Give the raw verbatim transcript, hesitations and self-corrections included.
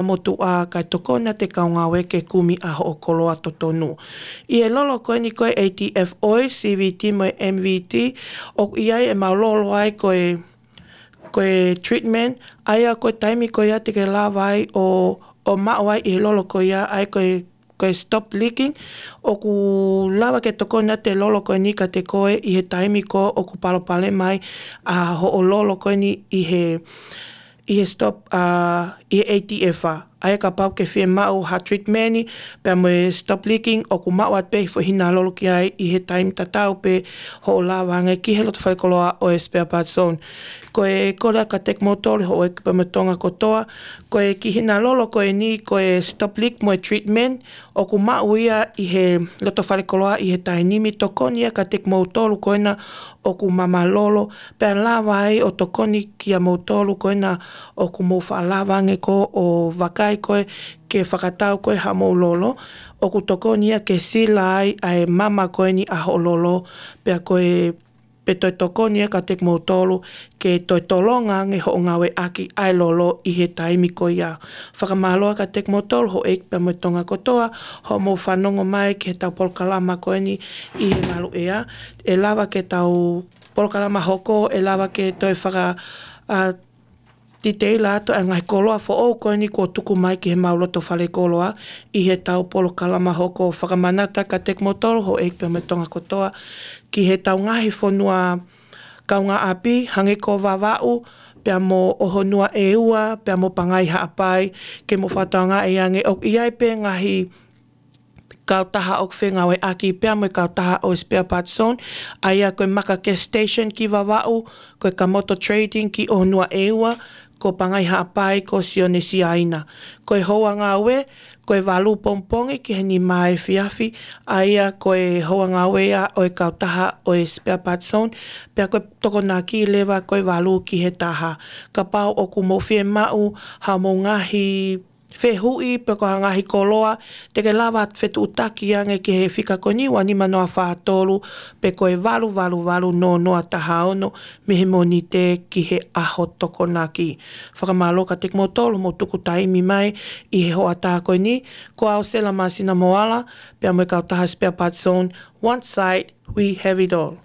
motuʻa kae tokoni atu e kau ngāue ke kumi ʻa hoʻo koloa totonu. ʻI he lolo ko eni ko e A T F ʻo e C V T mo e M V T, ʻoku ʻi ai ʻemau lolo ai ko e, ko e treatment, ʻa ia ko e taimi ko ia te ke lava ai ʻo, ʻo maʻu ai ʻi he lolo ko ia, ʻa ia ko e, ko e stop leaking, ʻoku lava ke tokoni atu e lolo ko eni kiate koe ʻi he taimi ko ē ʻoku palopalema ai ʻa hoʻo lolo ko eni ʻi he, ʻi he stop, ʻa, ʻi he A T F ʻa. ʻA ia kapau ʻoku ke fiemaʻu ha treatment, pea mo e stop leaking, ʻoku maʻu atu pē e foʻi hina lolo ki ai ʻi he taimi tatau pē hoʻo lava ange ki he loto fale koloa ʻo e Spare Parts Zone. Ko e kole atu kiate kimoutolu houʻeiki pea mo e Tonga kotoa, ko e kiʻi hina lolo ko eni, ko e stop leak mo e treatment, ʻoku maʻu ia ʻi he loto fale koloa ʻi he taimi ni, tokoni ia kiate kimoutolu ko ena ʻoku mama lolo, pea lava ai ʻo tokoni kiate kimoutolu ko ena ʻoku mou faʻa lava ange ko ē ʻo vakai ko ē ke fakatau ko ē haʻamou lolo, ʻoku tokoni ia ke sila ai ʻa e mama ko eni ʻa hoʻo lolo, pea ko e, pea toe tokoni ia kiate kimoutolu ke toe tolonga ange hoʻo ngāueʻaki ʻa e lolo ʻi he taimi ko ia. Fakamālō atu kiate kimoutolu houʻeiki pea mo e Tonga kotoa, hoʻomou fanongo mai ki heʻetau polokalama ko eni ʻi he ngaluʻea. ʻE lava ke tau polokalama hoko, ʻe lava ke toe faka, ʻa, titeila atu ʻa e ngaahi koloa foʻou ko eni kuo tuku mai ki heʻemau loto fale koloa ʻi heʻetau polokalama hoko. Fakamanatu atu kiate kimoutolu houʻeiki pea mo e Tonga kotoa ki heʻetau ngaahi fonua kaungāʻapi, hangē ko Vavaʻu, pea mo ʻOhonua ʻEua, pea mo Pangai Haʻapai, ke mou fakatokangaʻi ange ʻoku ʻi ai pē ngaahi kautaha ʻoku fengāueʻaki pea mo e kautaha ʻo e Spare Parts Zone, ʻa ia ko e Maka Gas Station ki Vavaʻu, ko e Kamoto Trading ki ʻOhonua ʻEua, ko Pangai Haʻapai ko Sione Siaina. Ko e houa ngāue, ko e valu pongipongi ki he nima efiafi, ʻa ia ko e houa ngāue ia ʻo e kautaha ʻo e Spare Parts Zone, pea ko e Tokonaki leva ko e valu ki he taha. Kapau ʻoku mou fiemaʻu haʻamou ngaahi fehuʻi pe ko ha ngaahi koloa, te ke lava ʻo fetuʻutaki ange ki he fika ko eni, ua nima noa fā tolu, pe ko e valu valu valu noa noa taha ono, mei he Mōnite ki he ʻaho Tokonaki. Fakamālō kiate kimoutolu hoʻomou tuku taimi mai ʻi he hoʻatā ko eni, ko au Sela Masina Moala, pea mo e kautaha Spare Parts Zone, one site, we have it all.